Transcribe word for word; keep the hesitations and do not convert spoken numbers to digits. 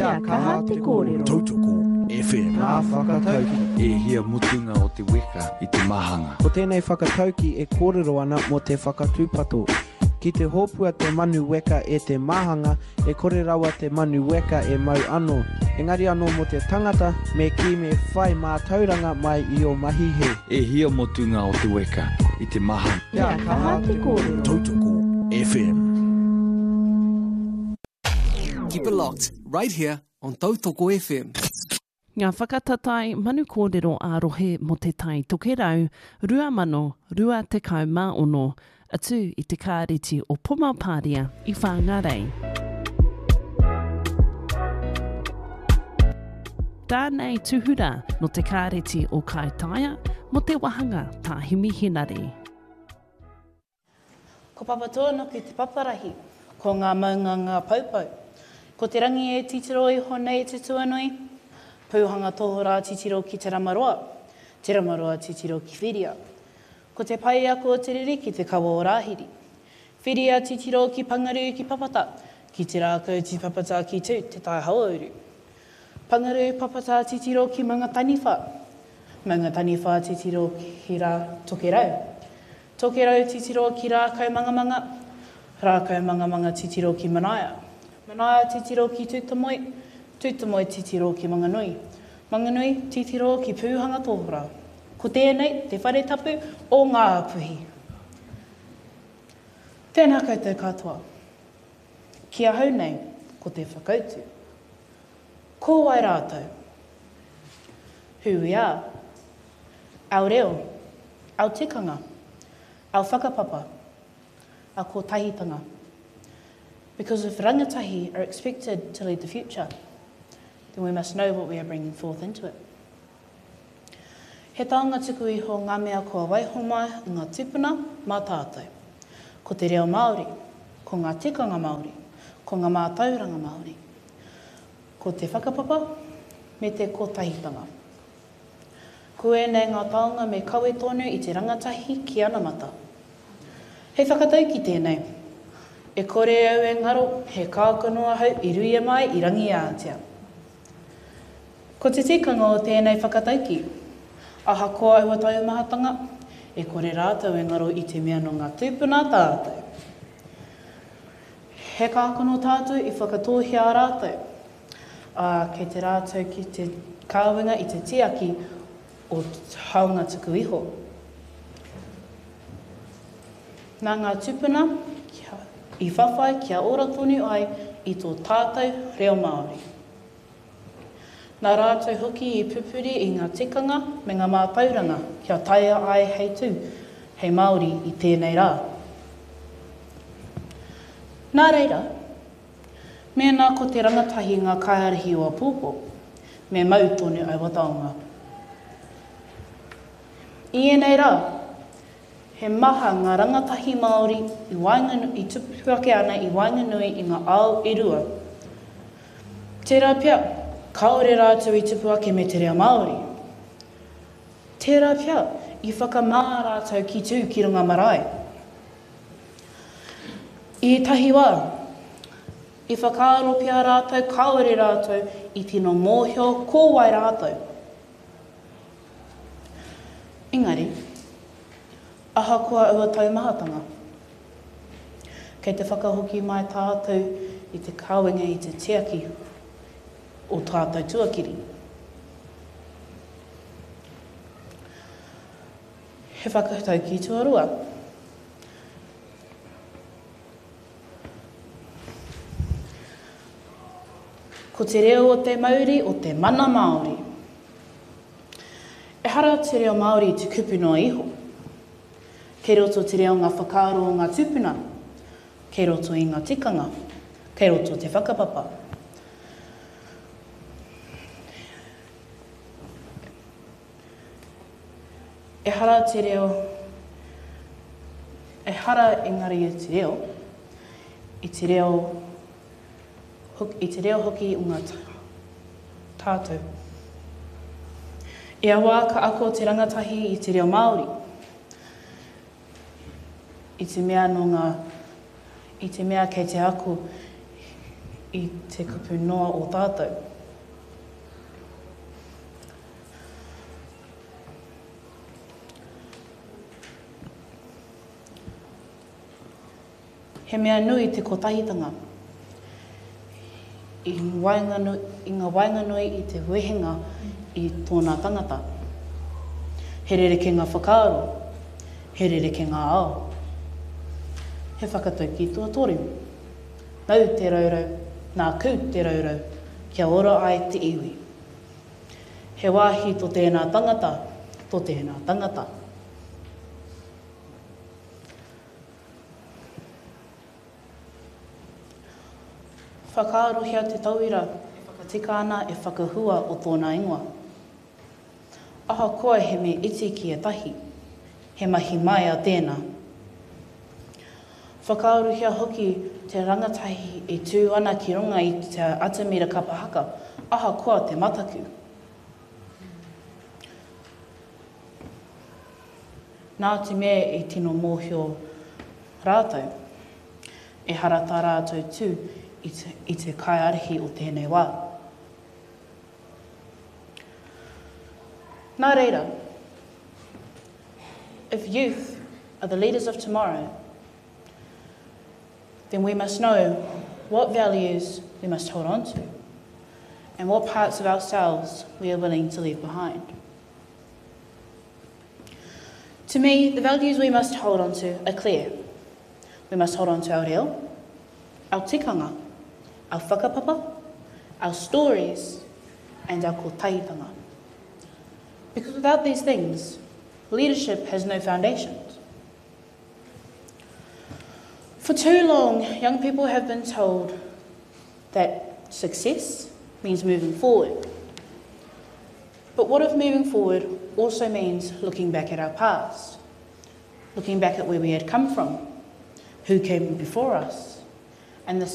Kia kaha te kōrero. Tautoko F M. Ngā whakatauki. E hia mutunga o te weka i te mahanga. Ko tēnei whakatauki e kōrero ana mō te whakatūpato. Ki te hōpua te manu weka e te mahanga, e kore rawa te manu weka e mau anō. Engari anō mō te tangata, me kī me whai mātauranga mai i ō mahi hē. E hia mutunga o te weka i te mahanga. Kia kaha te kōrero. Tautoko F M. Keep it locked right here on Tautoko F M. Ngā whakatatae manu kōrero ā-rohe mō Te Tai Tokerau rua mano rua tekau mā ono atu i te kāreti o Pomapāria i Whāngārei. Tānei tuhura no te kāreti o Kaitaia mō te wahanga Tā Himi Henare. Ko Papatūānuku te paparahi, ko ngā maunga ngā poupou. Ko te rangi e titiro iho nei te tuanui, pūhanga tohorā titiro ki Te Ramaroa, Te Ramaroa titiro ki Whiria. Ko te paiako o te riri ki te kawa o Rāhiri. Whiria titiro ki Pangarū ki Papata, ki te rākau ti Papata ki tū, te tai hauauru. Pangarū Papata titiro ki Maungataniwha, Maungataniwha titiro ki Rā Tokerau. Tokerau titiro ki Rākau Mangamanga, Rākau Mangamanga titiro ki Manaia. Manaia titiro ki Tūtamoe, Tūtamoe titiro ki Manganui. Manganui titiro ki Pūhanga Tōhora. Ko tēnei te whare tapu o Ngā Puhi. Tēnā koutou katoa. Ki ahau nei, ko te whakautu. Ko wai rātou? Who we are? Our reo, our tikanga, our whakapapa, our kotahitanga. Because if rangatahi are expected to lead the future, then we must know what we are bringing forth into it. He taonga tuku iho ngā mea kua waiho mai i ngā tūpuna mā tātou. Ko te reo Māori, ko ngā tikanga Māori, ko ngā mātauranga Māori. Ko te whakapapa me te kotahitanga. Ko ēnei ngā taonga me kawe tonu i te rangatahi ki anamata. He whakatauki tēnei. E kore au e ngaro, he kākano ahau i ruia mai i Rangiātea. Ko te tikanga o tēnei whakatauki, ahakoa aua taumahatanga, e kore rātou e ngaro i te mea nō ngā tūpuna tātou. He kākano tātou i whakatōhia rātou, ā, kei te rātou ki te kāwenga i te tiaki o taonga tuku iho. Nā ngā tūpuna i whawhai kia ora tonu ai i tō tātou reo Māori. Nā rātou hoki i pupuri i ngā tikanga me ngā mātauranga kia taea ai hei tū, hei Māori i tēnei rā. Nā reira, mēnā ko te rangatahi ngā kaiārahi o āpōpō, me mau tonu aua taonga. I ēnei rā, he maha ngā rangatahi Māori i, waenganu, i tupu ake ana i waenganui i ngā ao e rua. Tērā pea, kāore rātou i tupu ake me te reo Māori. Tērā pea, i whakamā rātou ki tū ki runga marae. I ētahi wā, i whakaaro pea rātou kāore rātou i tino mōhio ko wai rātou. Engari, ahakoa aua taumahatanga, kei te whakahoki mai tātou i te kawenga i te tiaki o tātou tuakiri. He whakatauki tuarua. Ko te reo o te mauri o te mana Māori. Ehara te reo Māori i te kupu noa iho. Kei roto te reo ngā whakaaro o ngā tūpuna, kei roto i ngā tikanga, kei roto te whakapapa. Ehara te reo, ehara engari i te reo, i te reo, i te reo hoki o ngā tātou. Ia wā ka ako te rangatahi i te reo Māori, i te mea nō ngā, i te mea kei te ako i te kupu noa o tātou. He mea nui te kotahitanga i, waenganui, i ngā waenganui i te wehenga i tōna tangata. He rerekē ngā whakaaro, he rerekē ngā ao. He whakataukī tuatoru. Nau te raurau, nāku te raurau, kia ora ai te iwi. He wāhi tō tēnā tangata, tō tēnā tangata. Whakaarohia te tauira e whakatika ana e whakahua o tōna ingoa. Ahakoa he mea iti ki ētahi, he mahi maia tēnā. Whakaarohia hoki te rangatahi e tū ana ki runga i te atamira kapa haka, ahakoa te mataku. Nā te mea i tino mōhio rātou, ehara tā rātou tū i te, i te kaiārahi o tēnei wā. Nā reira, if youth are the leaders of tomorrow, then we must know what values we must hold on to and what parts of ourselves we are willing to leave behind. To me, the values we must hold on to are clear. We must hold on to our reo, our tikanga, our whakapapa, our stories, and our kotahitanga. Because without these things, leadership has no foundations. For too long, young people have been told that success means moving forward. But what if moving forward also means looking back at our past, looking back at where we had come from, who came before us, and the